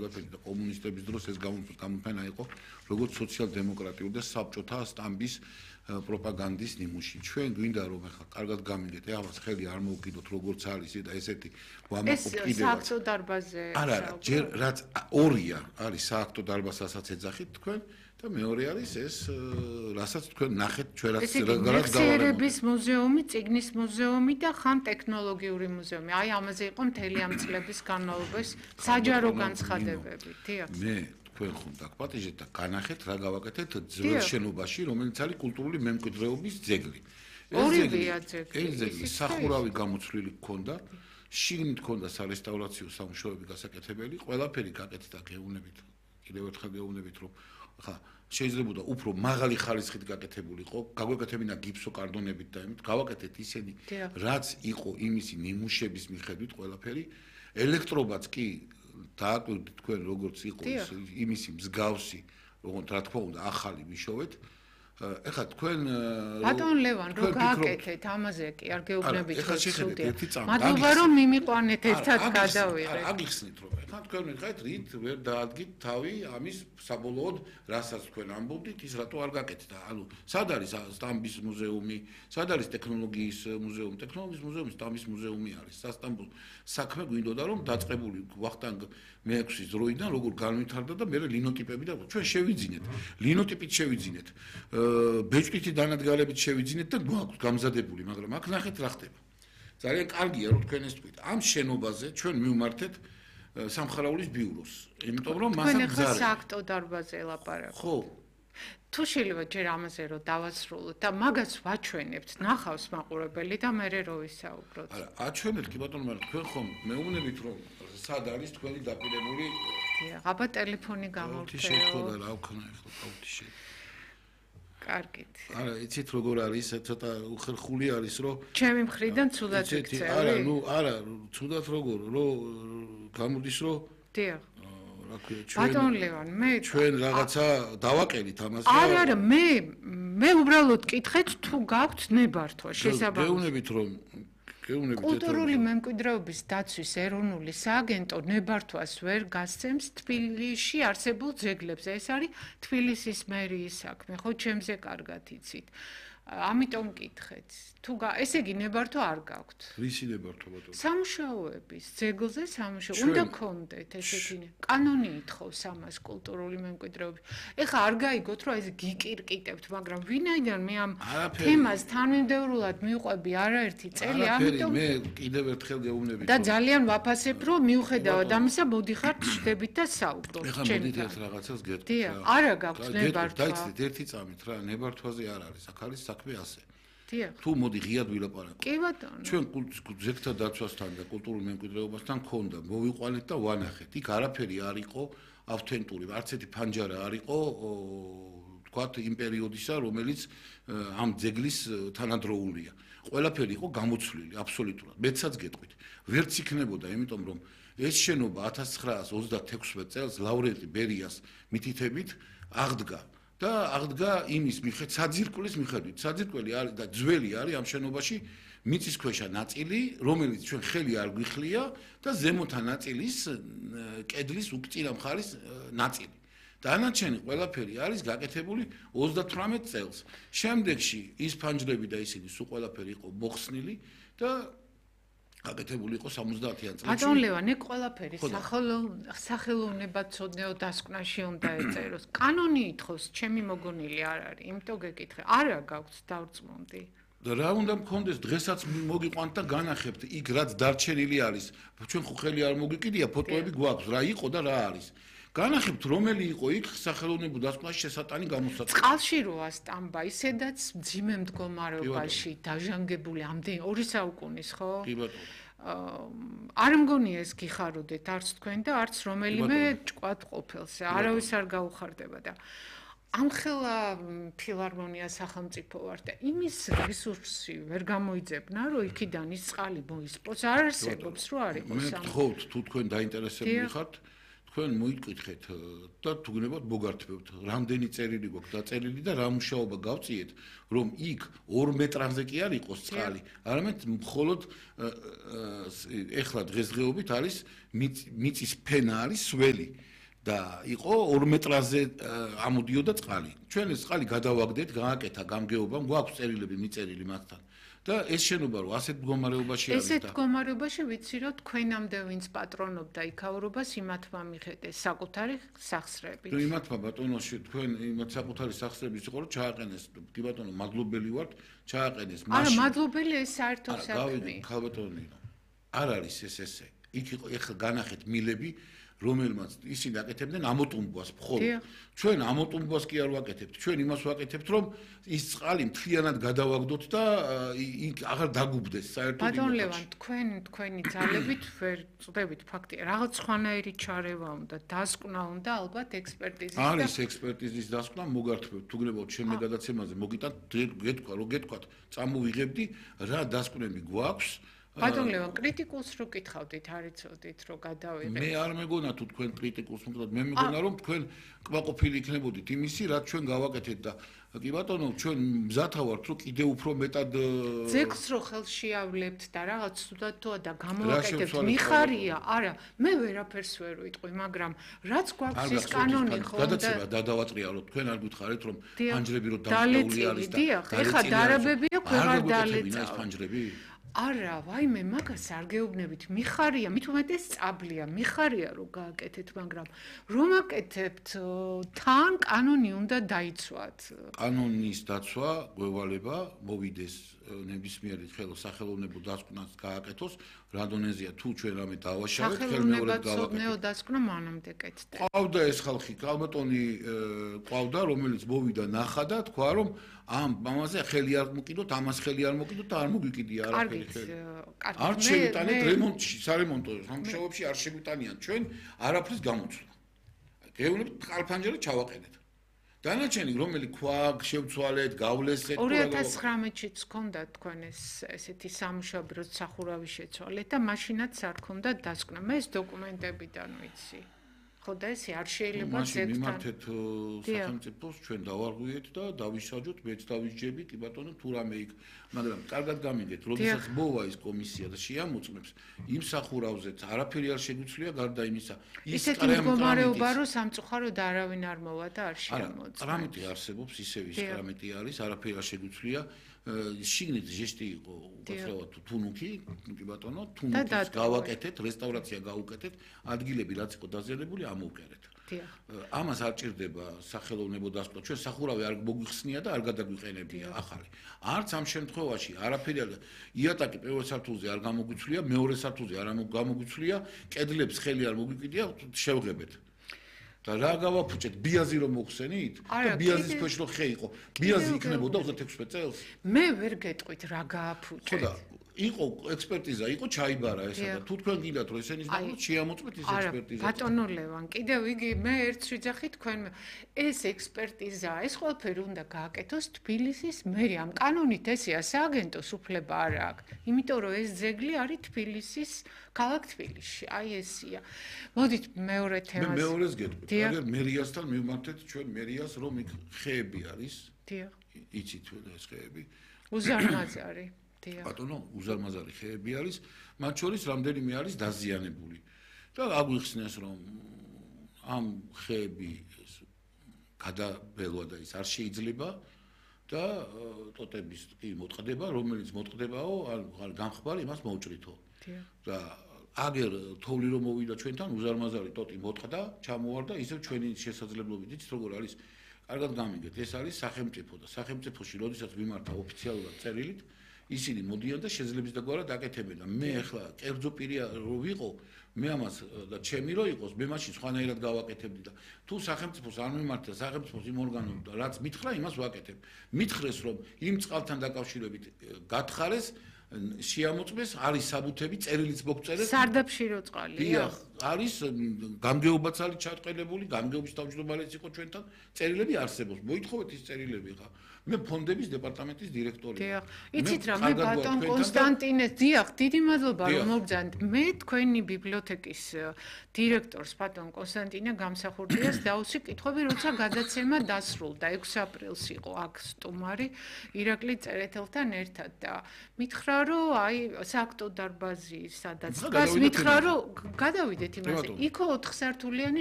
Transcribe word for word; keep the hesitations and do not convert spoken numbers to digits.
ყველაფერი და კომუნისტების დროს ეს გამოფენა იყო როგორც სოციალ-დემოკრატიული და საბჭოთა სტამბის პროპაგანდის ნიმუში. ჩვენ გვინდა რომ ახლა კარგად გამიგეთ, ეხლა ხელი არ მოვკიდოთ როგორც არის და ესეთი ვამაყობ კიდევ. ეს სააქტო დარბაზზე. არა, არა, ჯერ რაც ორია არის სააქტო დარბაზასაც ეძახით თქვენ და მეორე არის ეს რასაც თქვენ ნახეთ ჩვენ რაც რაღაც გავარების მუზეუმი, წიგნის მუზეუმი და ხან ტექნოლოგიური მუზეუმი. აი ამაზე იყო მთელი ამ წლების განმავლობაში საჯარო განცხადებები. დიახ. მე თქვენ ხომ დაგპატიჟეთ და განახეთ რა გავაკეთეთ ძველ შენობაში, რომელიც არის კულტურული მემკვიდრეობის ძეგლი. ორივეა ძეგლი. ეს ძეგლი სახურავი გამოცვლილი გქონდა, შიგნით გქონდა სარესტავრაციო სამუშაოები გასაკეთებელი, ყველაფერი გაკეთდა გეუბნებით. კიდევ ერთხელ გეუბნებით რომ ხა შეიძლება უფრო მაღალი ხარისხით გაკეთებულიყო, გაგვეკეთებინა გიფსოკარდონებით და იმით, გავაკეთეთ ისინი, რაც იყო იმისი ნიმუშების მიხედვით ყველაფერი, ელექტრობაც კი დააკვირდით თქვენ როგორც იყო იმისი მსგავსი, როგორც რა თქმა უნდა ახალი მიშოვეთ. ეხლა თქვენ ბატონ ლევან რო გააკეთეთ ამაზე კი არ გეუბნებით ცუდია. მადლობა რომ მიმიყვანეთ ერთად გადავიღეთ. აგიხსნით რომ ეხლა თქვენ მითხარით რით ვერ დაადგით თავი ამის საბოლოოდ რასაც თქვენ ამბობდით ის რატო არ გაკეთდა. ანუ სად არის სტამბის მუზეუმი, სად არის ტექნოლოგიის მუზეუმი, ტექნოლოგიის მუზეუმი სტამბის მუზეუმი არის. სასტამბო საქმე გვინდოდა რომ დაწყებული ვახტანგ მეექვსის დროიდან როგორ განვითარდა და მე ლინოტიპები და ჩვენ შევიძინეთ. ლინოტიპით შევიძინეთ. ბეჭდვითი დანადგარებით შევიძინეთ და გვაქვს გამზადებული, მაგრამ აქ ნახეთ რა ხდება. ძალიან კარგია რომ თქვენ ეს თქვით. ამ შენობაზე ჩვენ მივმართეთ სამხარაულის ბიუროს, იმიტომ რომ მასაც გზარი. თქვენ ახლა სააქტო დარბაზზე ელაპარაკეთ. ხო. თუ შეიძლება ჯერ ამაზე რომ დავასრულოთ და მაგას ვაჩვენებთ, ნახავს მაყურებელი და მე რო ვისაუბროთ. არა, აჩვენეთ კი ბატონო, მაგრამ თქვენ ხომ მეუბნებით რომ სად არის თქვენი დაპირებული? დიახ, აბა ტელეფონი გამოვთეო. თი შეხვდა რა ვქნა ახლა თავთიში. კარგით. არა, იცით როგორ არის, ცოტა უხერხული არის, რომ ჩემი მხრიდან ცუდად იქცევი. არა, ნუ არა, ცუდად როგორ, რომ გამოდის, რომ დიახ. რა ქვია, ჩვენ ბატონ ლევან, მე ჩვენ რაღაცა დავაკელით ამას. არა, არა, მე მე უბრალოდ კითხეთ თუ გაქვთ ნებართვა შესაბამისად. გეუბნებით რომ გეუბნებით კულტურული მემკვიდრეობის დაცვის ეროვნული სააგენტო ნებართვას ვერ გასცემს თბილისში არსებულ ძეგლებზე. ეს არის თბილისის მერიის საქმე, ხო, ჩემზე კარგად იცით. ამიტომ კითხეთ. თუ ესე იგი ნებართვა არ გაქვთ. რისი ნებართვა ბატონო? სამუშაოების ძეგლზე სამუშაო უნდა გქონდეთ ესეთი. კანონი ითხოვს ამას კულტურული მემკვიდრეობის. ეხლა არ გაიგოთ რომ ეს გიკირკიტებთ, მაგრამ ვინაიდან მე ამ თემას თანმიმდევრულად მივყვები არაერთი წელი, ამიტომ მე კიდევ ერთხელ გეუბნებით. და ძალიან ვაფასებ რომ მიუხედავად ამისა მოდიხართ შედებით და საუბრობთ. ეხლა მოდით ერთ რაღაცას გეტყვით. დიახ, არა გაქვთ ნებართვა. დაიცით ერთი წამით რა, ნებართვაზე არ არის, აქ არის საქმე ასე. დიახ. თუ მოდი ღიად ვილაპარაკოთ. კი ბატონო. ჩვენ ძეგლთა დაცვასთან და კულტურულ მემკვიდრეობასთან ქონდა, მოვიყვანეთ და ვანახეთ. იქ არაფერი არ იყო ავთენტური, არც ერთი ფანჯარა არ იყო, თქვათ იმ პერიოდისა, რომელიც ამ ძეგლის თანადროულია. ყველაფერი იყო გამოცვლილი აბსოლუტურად. მეცაც გეტყვით. ვერც იქნებოდა, იმიტომ რომ ეს შენობა ათას ცხრაას ოცდათექვსმეტ წელს ლავრენტი ბერიას მითითებით აღდგა. და აღდგა იმის მიხედვით, საძირკვლის მიხედვით. საძირკველი არის და ძველი არის ამ შენობაში მიწისქვეშა ნაწილი, რომელიც ჩვენ ხელი არ გვიხლია და ზემოთა ნაწილის კედლის უკწინა მხარის ნაწილი. დანარჩენი ყველაფერი არის გაკეთებული ოცდათვრამეტ წელს. შემდეგში ის ფანჯრები და ისინი სულ ყველაფერი იყო მოხსნილი და გაკეთებული იყო სამოცდაათიან წელს. ბატონ ლევან, ეგ ყველაფერი სახელოვნებაცოდნეო დასკვნაში უნდა ეწეროს. კანონი ითხოვს, ჩემი მოგონილი არ არის, იმიტომ გეკითხე. არა გაქვთ დავწმუნდი. და რა უნდა მქონდეს, დღესაც მოგიყვანთ და განახებთ იქ რაც დარჩენილი არის. ჩვენ ხო ხელი არ მოგიკიდია, ფოტოები გვაქვს, რა იყო და რა არის. განახებთ რომელი იყო იქ სახელოვნებო დასკვნაში შესატანი გამოსაცდელი. წყალში როა სტამბა, ისედაც მძიმე მდგომარეობაში დაჟანგებული ამდენი ორი საუკუნის, ხო? კი ბატონო. არ მგონია ეს გიხაროდეთ არც თქვენ და არც რომელიმე ჭკვად ყოფილს. არავის არ გაუხარდება და ამხელა ფილარმონია სახელმწიფო ვარ და იმის რესურსი ვერ გამოიძებნა, რომ იქიდან ის წყალი მოისპოს. არ არსებობს, რომ არ იყოს ამ. მე გთხოვთ, თუ თქვენ დაინტერესებული ხართ, თქვენ მოიკითხეთ და თუ გნებავთ მოგართმევთ, რამდენი წერილი გვაქვს დაწერილი და რა მუშაობა გავწიეთ, რომ იქ ორ მეტრაზე კი არ იყოს წყალი, არამედ მხოლოდ ეხლა დღესდღეობით არის მიწის ფენა არის სველი და იყო ორ მეტრაზე ამოდიოდა წყალი. ჩვენ ეს წყალი გადავაგდეთ, გააკეთა გამგეობა, გვაქვს წერილები მიწერილი მასთან. და ეს შენობა რო ასეთ მდგომარეობაში არის და ესეთ მდგომარეობაში ვიცი რომ თქვენამდე ვინც პატრონობდა იქაურობას იმათმა მიხედეს საკუთარი სახსრებით. თუ იმათმა ბატონოში თქვენ იმათ საკუთარი სახსრების იყო რომ ჩააყენეს კი ბატონო მადლობელი ვართ ჩააყენეს მაშინ არა მადლობელი ეს საერთო საქმე. ხალბატონი არ არის ეს ესე. იქ იყო ეხლა განახეთ მილები რომელმაც ისინი აკეთებდნენ ამოტუმბვას მხოლოდ. ჩვენ ამოტუმბვას კი არ ვაკეთებთ. ჩვენ იმას ვაკეთებთ, რომ ის წყალი მთლიანად გადავაგდოთ და იქ აღარ დაგუბდეს საერთოდ. ბატონ ლევან, თქვენ თქვენი ძალებით ვერ წდებით ფაქტია. რაღაც ხვანაირი ჩარევა უნდა, დასკვნა უნდა ალბათ ექსპერტიზის და არის ექსპერტიზის დასკვნა, მოგართმევთ, თუ გნებავთ ჩემი გადაცემაზე, მოგიტანთ, გეთქვა, რომ გეთქვათ, წამოვიღებდი, რა დასკვნები გვაქვს. ბატონ ლევან, კრიტიკულს რო კითხავდით, არ იცოდით, რომ გადავიღეთ. მე არ მეგონა თუ თქვენ კრიტიკულს მოგდათ, მე მეგონა რომ თქვენ კმაყოფილი იქნებოდით იმისი, რაც ჩვენ გავაკეთეთ და კი ბატონო, ჩვენ მზათა ვართ, რომ კიდე უფრო მეტად ძეგლს რო ხელში ავლებთ და რაღაც თუდად თუა და გამოვაკეთებთ, მიხარია, არა, მე ვერაფერს ვერ ვიტყვი, მაგრამ რაც გვაქვს ის კანონი ხო და გადაცემა დადავატრია რომ თქვენ არ გითხარით რომ ფანჯრები რო დამწეული არის და დიახ, ეხა დარაბებია, ქვეყარ დალეცა ეს ფანჯრები არა, ვაიმე, მაგას არ გეუბნებით. მიხარია, მით უმეტეს წაბლია, მიხარია რომ გააკეთეთ, მაგრამ რომ აკეთებთ, თან კანონი უნდა დაიცვათ. კანონის დაცვა გვევალება მოვიდეს ნებისმიერი სახელოვნებო დასკვნას გააკეთოს, რადონეზია თუ ჩვენ რამე დავაშავეთ, ხელმეორედ გავაკეთოთ. დასკვნა მანამდე კეთდა. ყავდა ეს ხალხი, კალბატონი ყავდა, რომელიც მოვიდა ნახა და თქვა რომ ამ მამაზე ხელი არ მოკიდოთ, ამას ხელი არ მოკიდოთ და არ მოგვიკიდია არაფერი ხელი. არ შევიტანეთ რემონტში, სარემონტო სამუშაოებში არ შევიტანიან ჩვენ არაფრის გამოცვლა. გეუბნებით ხალფანჯერა ჩავაყენეთ. დანარჩენი რომელი ქვა შევცვალეთ, გავლესეთ ორი ათას ცხრამეტშიც ჰქონდა თქვენ ეს ესეთი სამუშაო რო სახურავი შეცვალეთ და მაშინაც არ ჰქონდა დასკვნა. მე ეს დოკუმენტებიდან ვიცი. ხო და ესე არ შეიძლება ზეგთან. მიმართეთ სახელმწიფოს ჩვენ დავარღვიეთ და დავისაჯოთ, მეც დავისჯები, კი ბატონო, თუ რამე იქ, მაგრამ კარგად გამიგეთ, როდესაც მოვა ის კომისია და შეამოწმებს იმ სახურავზეც არაფერი არ შეგვიძლია გარდა იმისა. ის მდგომარეობა რომ სამწუხაროდ არავინ არ მოვა და არ შეამოწმებს. კრამიტი არსებობს, ისევ ის კრამიტი არის, არაფერი არ შეგვიძლია. შიგნით ჟესტი იყო უბრალოდ თუნუქი, კი ბატონო, თუნუქის გავაკეთეთ, რესტავრაცია გავუკეთეთ, ადგილები რაც იყო დაზიანებული ამოვკერეთ. ამას არ ჭირდება სახელოვნებო დასკვნა, ჩვენ სახურავი არ მოგვიხსნია და არ გადაგვიყენებია ახალი. არც ამ შემთხვევაში არაფერი არ იატაკი პირველ სართულზე არ გამოგვიცვლია, მეორე სართულზე არ გამოგვიცვლია, კედლებს ხელი არ მოგვიკიდია, შევღებეთ. და რა გავაფუჭეთ ბიაზი რომ მოხსენით და ბიაზის ქვეშ რო ხე იყო ბიაზი იქნებოდა ოცდაექვსი წელს მე ვერ გეტყვით რა გააფუჭეთ ხო და იყო ექსპერტიზა იყო ჩაიბარა ესა და თუ თქვენ გინდათ რომ ესენის გამო შეამოწმეთ ეს ექსპერტიზა არა ბატონო ლევან კიდევ იგი მე ერთ შეძახი თქვენ ეს ექსპერტიზა ეს ყველაფერი უნდა გააკეთოს თბილისის მერია ამ კანონით ესეა სააგენტოს უფლება არ აქვს იმიტომ რომ ეს ძეგლი არის თბილისის ქალაქ თბილისში აი ესია მოდით მეორე თემას მე მეორეს გეტყვით აგერ მერიასთან მივმართეთ ჩვენ მერიას რომ იქ ხეები არის დიახ იცით და ეს ხეები უზარმაზარი ბატონო, უზარმაზარი ხეები არის, მათ შორის რამდენიმე არის დაზიანებული. და აგვიხსნეს რომ ამ ხეები გადაბელვა და ის არ შეიძლება და ტოტების კი მოტყდება, რომელიც მოტყდებაო, ან გამხბარი იმას მოუჭრითო. და აგერ თოვლი რომ მოვიდა ჩვენთან, უზარმაზარი ტოტი მოტყდა, ჩამოვარდა, ისევ ჩვენი შესაძლებლობით იცით როგორ არის? კარგად გამიგეთ, ეს არის სახელმწიფო და სახელმწიფოში როდესაც მიმართა ოფიციალურად წერილით ისინი მოდიან და შეძლებს დაგვარად აკეთებენ და მე ახლა კერძო პირი რო ვიყო მე ამას და ჩემი რო იყოს მე მაშინ სხვანაირად გავაკეთებდი და თუ სახელმწიფოს არ მიმართა სახელმწიფოს იმ ორგანო რაც მითხრა იმას ვაკეთებ მითხრეს რომ იმ წყალთან დაკავშირებით გათხარეს შეამოწმეს არის საბუთები წერილიც მოგწერეს სარდაფში რო წყალია დიახ არის გამგეობაც არის ჩატყელებული, გამგეობის თავმჯდომარეც იყო ჩვენთან, წერილები არსებობს. მოითხოვეთ ის წერილები ხა. მე ფონდების დეპარტამენტის დირექტორია. დიახ. იცით რა, მე ბატონ კონსტანტინე, დიახ, დიდი მადლობა რომ მოგბრძანეთ. მე თქვენი ბიბლიოთეკის დირექტორს ბატონ კონსტანტინე გამსახურდიას დავუსვი კითხვები, როცა გადაცემა დასრულდა. ექვსი აპრილს იყო აქ სტუმარი ირაკლი წერეთელთან ერთად და მითხრა რომ აი სააქტო დარბაზი სადაც დგას, მითხრა რომ გადავიდეთ იმაზე. იქო ოთხ სართულიანი